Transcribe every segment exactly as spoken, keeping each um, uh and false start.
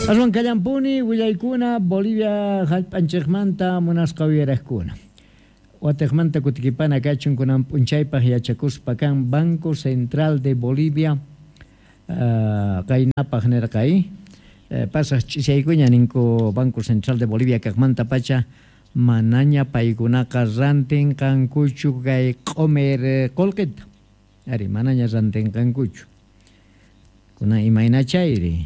Aswan kallampuni willaykuna Bolivia hallp'anchikmanta munasqa uyaraqkuna. Watiqmanta kutikipana kachun kunan p'unchaypaq yachakuspa kan Banco Central de Bolivia uh, qaynapaq nirqay uh, pasaq ch'isaykuña ninku Banco Central de Bolivia kaqmanta pacha manaña paykunaqa rantinqankuchu kay q'umir qullqita. Ari manaña rantinqankuchu. Kunan imayna chayri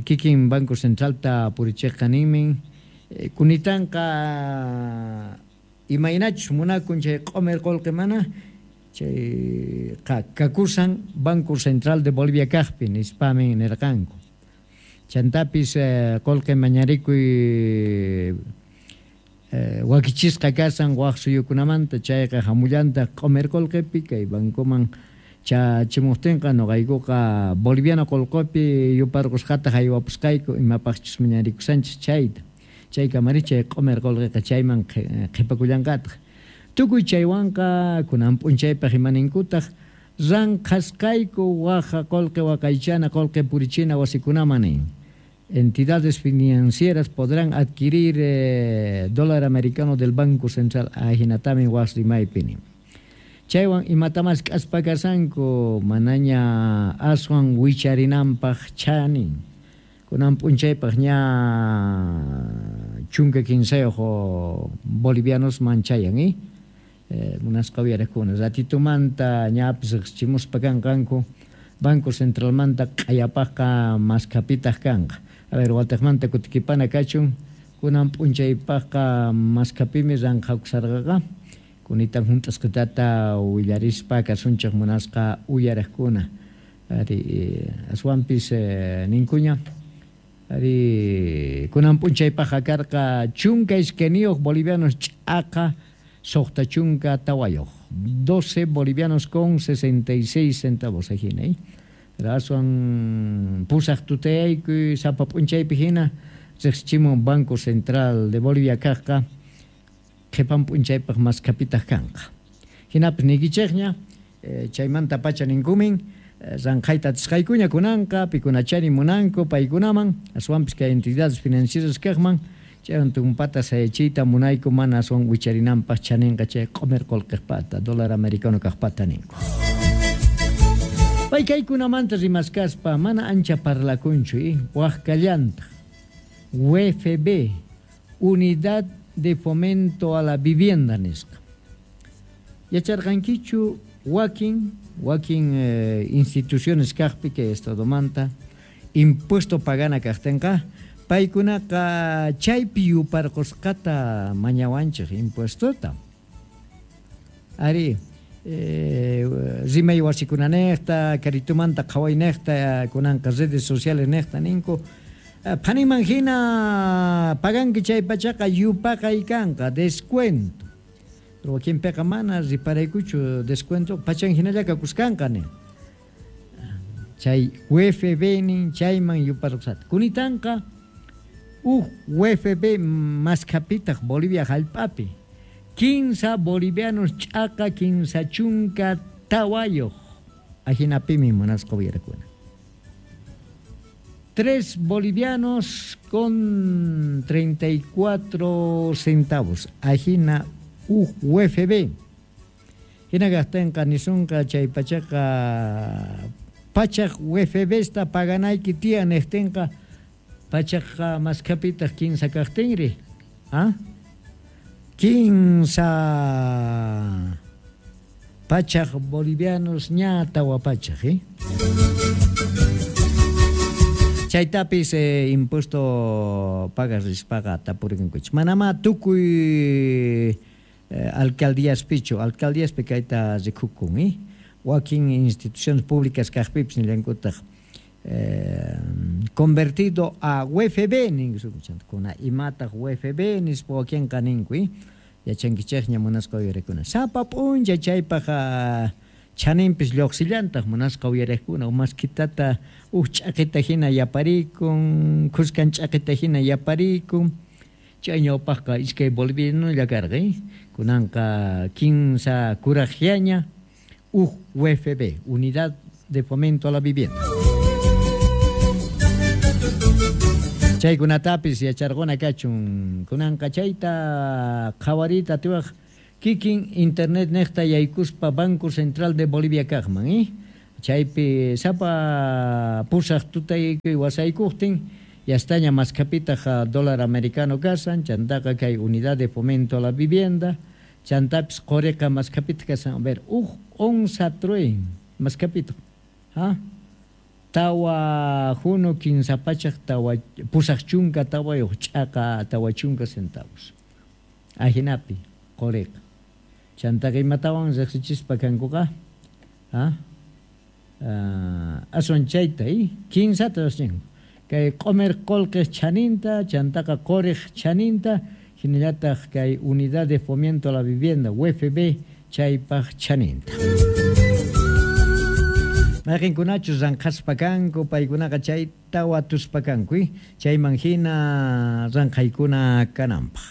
kikin Banco Centralta purichiqqa ninmin kunitanqa imaynachus munakun chay q'umir qullqi mana chay kakusan Banco Central de Bolivia kaqpi nispamin nirqanku. Chantapis qullqi mañarikuy wakichisqa kasan waq suyukunamanta chayqa hamullantaq q'umir qullqipi kay bancoman chachimuqtinqa nuqaykuqa boliviano qullqipi yuparqusqata haywapusqayku imapaqchus mañarikusanchis chayta. Chay kamari chay q'umir qullqiqa chayman qhipakullanqataq. Tukuy chaywanqa kunan p'unchaypaq imaninkutaq ranqhasqayku waqa qullqi waqaychana qullqi purichina wasikunaman nin. Entidades financieras podrán adquirir eh, dólar americano del Banco Central ahinatamin waq rimaypi nin. Chaywan imatamas k'aspa kasanku manaña aswan wicharinanpaq chanin. Kunan p'unchaypaq ña chunka kinsayuq bolivianos manchayan eh? Eh, munasqa uyaraqkuna ratitumanta ñapis riqsichimuspa kanqanku Banco Centralmanta q'ayapaqqa maskapitaq kanqa. A ver, watiqmanta kutikipana kachun kunan p'unchaypaqqa maskapimi ranqhakusarqaqa kunitan hunt'asqitata willarispa kasunchik munasqa uyaraqkuna. Ari aswanpis eh, ninkuña ari kunan p'unchaypaqqa karqa chunka iskayniyuq bolivianos ch'aqa suqta chunka tawayuq doce bolivianos con sesenta y seis centavos ajina eh? Pero aswan pusaq tutayaykuy sapa p'unchaypi hina riqsichimun Banco Central de Bolivia kaqqa qhipan p'unchaypaq maskapitaq kanqa. Hinapis niykichikña eh, chaymanta pacha ninkumin ranqhayta atisqaykuña kunanqa pikunachari munanku paykunaman aswanpis kay entidades financieras kaqman chaywan tumpata sayachiyta munayku mana aswan wicharinanpaq chaninqa chay q'umir qullqiqpata dólar americano kaqpata ninku. Pay kaykunamanta rimaskaspa mana ancha parlakunchu eh? Waq kallantaq U F B Unidad de Fomento a la Vivienda nisqa. Yacharqankichu wakin wakin eh, instituciones kaqpi kay estadomanta impuesto pagana kaqtinqa paykunaqa chaypi yuparqusqata mañawanchik impuestota. Ari eh, rimay wasikunanejta karitumanta qhawaynejta kunanqa redes sociales nejta ninku phaniman hina paganki chay pachaqa yupaqay kanqa descuento. Pero wakinpiqa mana riparaykuchu descuento pachan hinalla kakuskanqa nin. Chay U F B nin chayman yuparqusata. Kunitanqa uj U F B maskapitaq Bolivia hallp'api kinsa bolivianos ch'aqa kinsa chunka tawayuq ahinapimi munasqa uyarakuna. Tres bolivianos con treinta y cuatro centavos ajina U F B. Hina gastenqa nisunqa chay pachaqa pachaq U F B sta paganayki tiyan niqtinqa pachaqqa maskapitaq kinsa kaqtinri. ¿Ah? Kinsa pachaq bolivianos ña tawa pachaq, eh? Chaytapis eh, impuesto pagas rispaqa tapurikunkuch. Manama tukuy eh, alcaldíaspichu, alcaldíaspi kayta rikukun, eh? Wakin instituciones públicas kaqpipis nillankutaq eh, convertido a U F B ninkuna imataq U F B nispa wakinqa ninku, eh? Yachankichikña munasqa uyarakuna. Sapa p'uncha chaypaq chaninpis lluqsillantaq munasqa uyariqkuna umaskitata uj ch'aqita hina yaparikun, khuskan ch'aqita hina yaparikun. Chay ñawpaqqa iskay bolivianolla karqa, eh? Kunanqa kinsa kuraqllaña U F B, Unidad de Fomento a la Vivienda. Chaykunatapis yacharquna kachun kunanqa chayta qhawariyta atiwaq kikin internet niqta yaykuspa Banco Central de Bolivia kaqman, eh? Chaypi sapa pusaq tutaykuy wasaykuqtin yastaña maskhapitaq dólar americano kasan, chantaqa kay unidad de fomento a la vivienda, chantapis quriqa maskhapitaq kasan, a ver, uj onza truin maskhapitaq, ha? Tawa juno kinsa pachaq tawa pusaq chunka tawayuq ch'aqa tawa chunka centavos. Ajinapi quriqa. Chantaqa imatawan riqsichispa kankuqa, ha? Uh, aswan chayta, eh? Kinsata riqsinku. Kay q'umir qullqiq chaninta, chantaqa quriq chaninta, hinallataq kay unidad de fomento a la vivienda U F B chaypaq chaninta. Mayqinkunachus ranqhaspa kanku, paykunaqa chayta watuspa kanku, eh? Chayman hina ranqhaykuna kananpaq.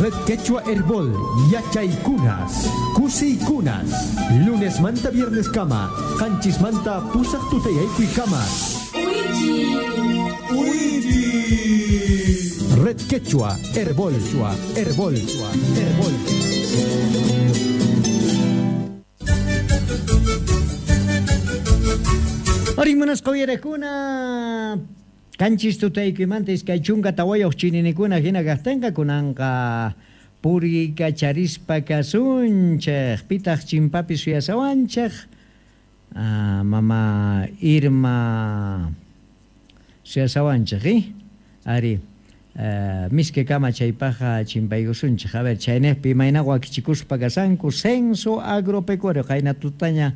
Red Quechua Herbol, Yachaykunas, Kusiykunas, lunes manta viernes kama, qanchis manta pusaq tutayaykuy kama. Red Quechua Herbol, Herbol, Herbol. Arimunas qawyarakuna, kanchis tutaykuymanta iskay chunka tawayuq chininikuna hina kaqtinqa kunanqa puriykacharispa kasunchik, pitaq chimpapi suyasawanchik, ah, mama Irma suyasawanchik, eh? Ari, Uh, miske kama chaypaqa chimpaykusunchik. A ver, chaynejpi imayna wakichikuspa kasanku censo agropecuario qayna tutaña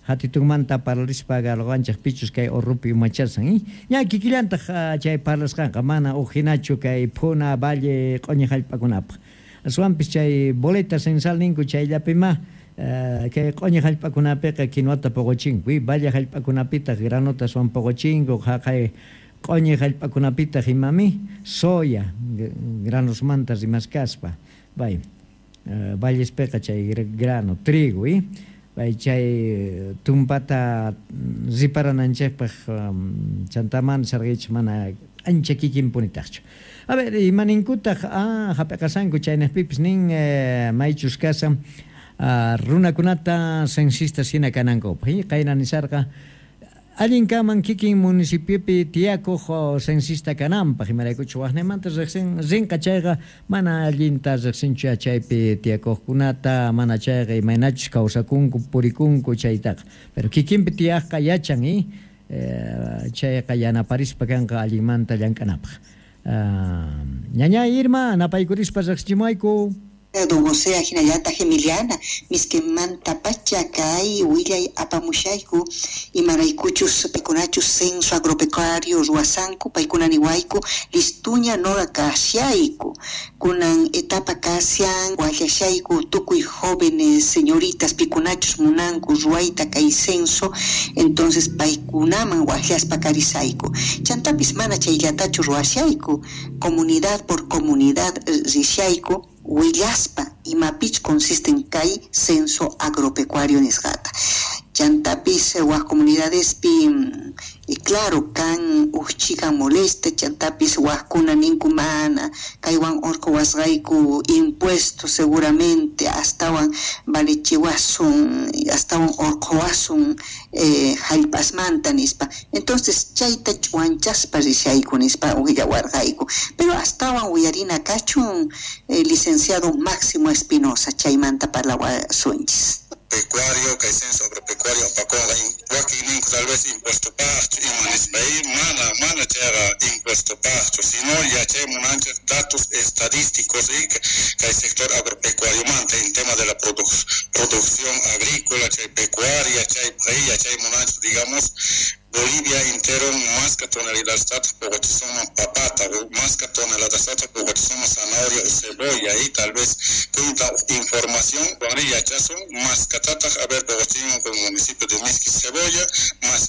hatitunmanta parlarispa garqanchik pichus kay urrupi umachasan, eh? Ña kikillantaq uh, chay parlasqanqa mana uqhinachu kay phuna valle q'uñi hallp'akunapaq. Aswanpis chay boleta censal ninku chayllapima uh, kay q'uñi hallp'akunapiqa kinuata puquchinku, eh? Valle hallp'akunapitaq granota aswan puquchinku, haqay q'uñi hallp'akunapitaq imami soya granosmanta rimaskaspa, bay uh, vallespiqa chay grano trigo, eh? Bay chay tumpata riparananchikpaq um, chantaman sarqich mana ancha kikinpunitaqchu. A ver, imaninkutaq ah, hap'iqasanku chaynejpipis nin eh, maychus kasan uh, runakunata censistas hina kanankupaq, eh? Qayna nisarqa allin kaman kikin municipiopi tiyakuq censista kananpaq, imaraykuchu waqnimanta riqsin rinqa chayqa mana allinta riqsinchu chaypi tiyakuqkunata, mana chayqa imaynachus kawsakunku purikunku chaytaqa, pero kikinpi tiyaqqa yachan, eh? Eh, chayqa yanaparispa kanqa allinmanta llank'anapaq. Uh, ñaña Irma, napaykurispa riqsichimuwayku. Don José hinallataq Emiliana, miskimanta pacha kay willay apamushayku imaraykuchus paykunachus censo agropecuario ruwasanku paykuna niwayku listuña noqa kashayku kunan etapa kashan wallashayku tukuy jóvenes señoritas pikunachus munanku ruwayta kay censo, entonces paykunaman wajllaspa karisayku chantapis mana chayllatachu ruwashayku comunidad por comunidad rishayku willaspa imapich consiste en kay censo agropecuario nisqata. Chantapis waj comunidadespi y claro kan uqchikan molesta chantapis wajkuna ninku mana kaywan urqu wasqayku impuesto seguramente astawan valichiwasun astawan urquwasun eh, hallp'asmanta nispa, entonces chayta ch'uwanchaspa rishayku nispa willawarqayku, pero astawan uyarina kachun eh, licenciado Máximo Espinosa chaymanta parlawasunchis. Pecuario, kay censo agropecuario apakunqa wakin ninku tal vez impuesto paqchu ima nispa, mana mana chayqa impuesto paqchu, sino yachay munanchik datos estadísticos y kay sector agropecuario manta en tema de la produ producción agrícola, chay pecuaria, chay yachay munanchik digamos Bolivia entero más que toneladas de papata, más que toneladas de zanahoria o cebolla y tal vez cuenta información, más que a ver, con el municipio de Misqui cebolla, más